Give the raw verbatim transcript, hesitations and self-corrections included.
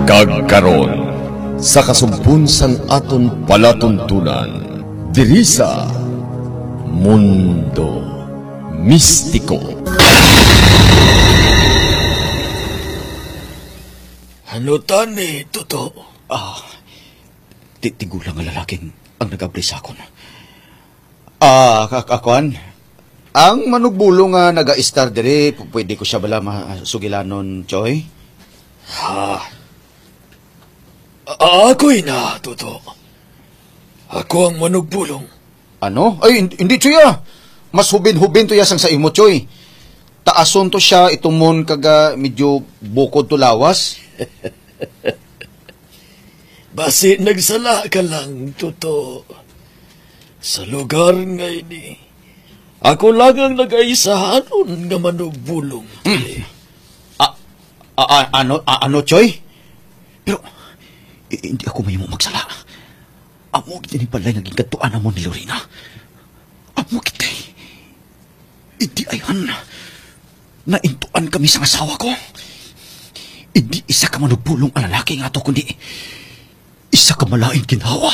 Kag karon, sa kasumpon sang aton palatuntunan, diri sa Mundo Mistiko. Ano tani, Toto? Ah, ti-, tigulang nga lalaki ang nag-abli sa akon. Ah, ka-, ka-, kuan? Ang manugbulong nga nagaistar diri, pu-, pwede ko siya bala masugilanon, Choy? Ha? A-, ako'y na, Toto. Ako ang manugbulong. Ano? Ay, hin-, hindi, Choy, ah. Mas hubin-hubin to ya sang sa imo, Choy. Taason to siya, itumon kag, ah, medyo bukod to lawas. Basi nagsala ka lang, Toto. Sa lugar nga ini, ako lang ang nagaisahanon nga manugbulong. Hmm. A-, a-, a-, ano, a-, ano, Choy? Pero, i-, hindi ako mahimo magsala. Amo gid ini balay nga gingadtuan namon ni Lorena. Amo gid kay, hindi ay han. Naintuan kami sang asawa ko. Hindi isa ka manugpulong ang lalaki nga ato, kundi isa ka malain ginhawa.